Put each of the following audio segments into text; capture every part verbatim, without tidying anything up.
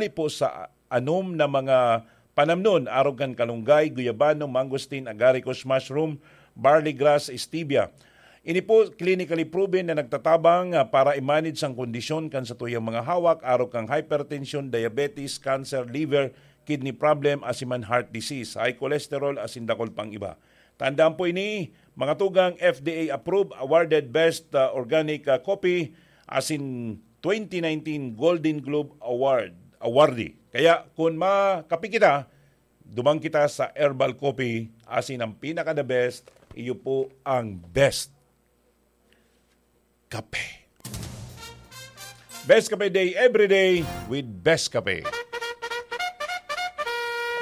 po sa anom na mga panamnon, arog kan kalunggay, guyabano, mangosteen, agaricus, mushroom, barley grass, stevia. Ini po clinically proven na nagtatabang, ah, para i-manage ang kondisyon kan satuyang mga hawak, arog kan hypertension, diabetes, cancer, liver, kidney problem, asin man heart disease, high cholesterol, asin dakul pang iba. Tandaan po ini, mga tugang, F D A approved, awarded best, ah, organic, ah, coffee, asin twenty nineteen Golden Globe Award, awardee. Kaya kung makape kita, duman kita sa herbal coffee, asin ang pinaka the best, iyo po ang best kape. Best Kape Day every day with Best Kape.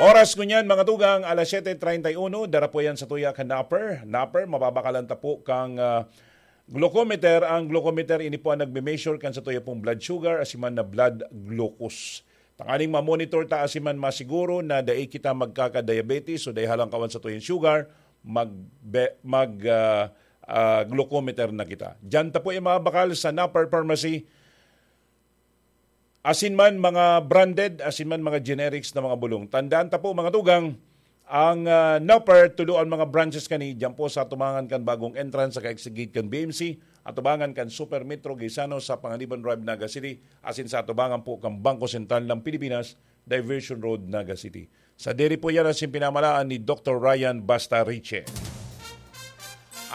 Oras ngunyan, mga tugang, alas siyete treinta y uno, dara po yan sa tuya kan Napper. Napper, mababakalan ta po kang, ah, glucometer. Ang glucometer, ini po ang nagme-measure kan sa tuya pong blood sugar, asin man na blood glucose. Tanganing ma-monitor ta asin man masiguro na dai kita magkaka-diabetes o dai halangkawan sa tuyang sugar, mag, be, mag, ah, ah, glucometer na kita. Diyan ta po yung mga bakal sa Napper Pharmacy, asin man mga branded, asin man mga generics na mga bulong. Tandaan ta po, mga tugang, ang, ah, Napper, tulo ang mga branches kani, diyan po sa atubangan kan bagong entrance sa kaigsigit kan B M C, atubangan kan Super Metro Gaisano sa Panganiban Drive, Naga City, asin sa atubangan po kan Bangko Sentral ng Pilipinas, Diversion Road, Naga City. Sa diri po yan asin pinamalaan ni Doktor Ryan Bastariche.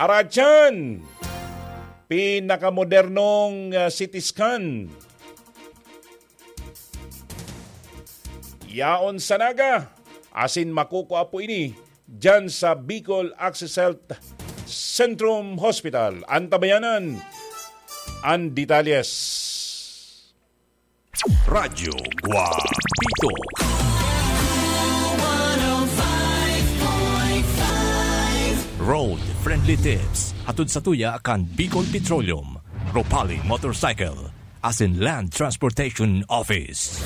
Aratyan! Pinakamodernong, ah, C T scan. Yaon sa Naga, asin makukua po ini diyan sa Bicol Access Health Centrum Hospital. Antabayanan ang detalles. Radyo Guapito. Road Friendly Tips. Hatod sa tuya kan Bicol Petroleum, Ropali Motorcycle, asin Land Transportation Office.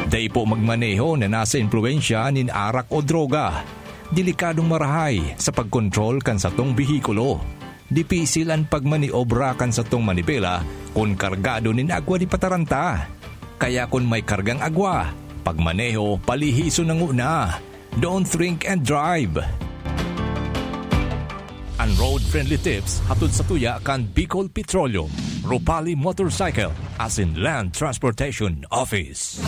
Dai po magmaneho na nasa impluwensya nin arak o droga. Delikadong marahay sa pagkontrol kan satong behikulo. Dipisil an pagmaniobra kan satong manibela kun kargado nin agwa di pataranta. Kaya kun may kargang agwa, pagmaneho palihison na nguna. Don't drink and drive. An Road Friendly Tips hatod sa tuya kan Bicol Petroleum, Ropali Motorcycle, asin Land Transportation Office.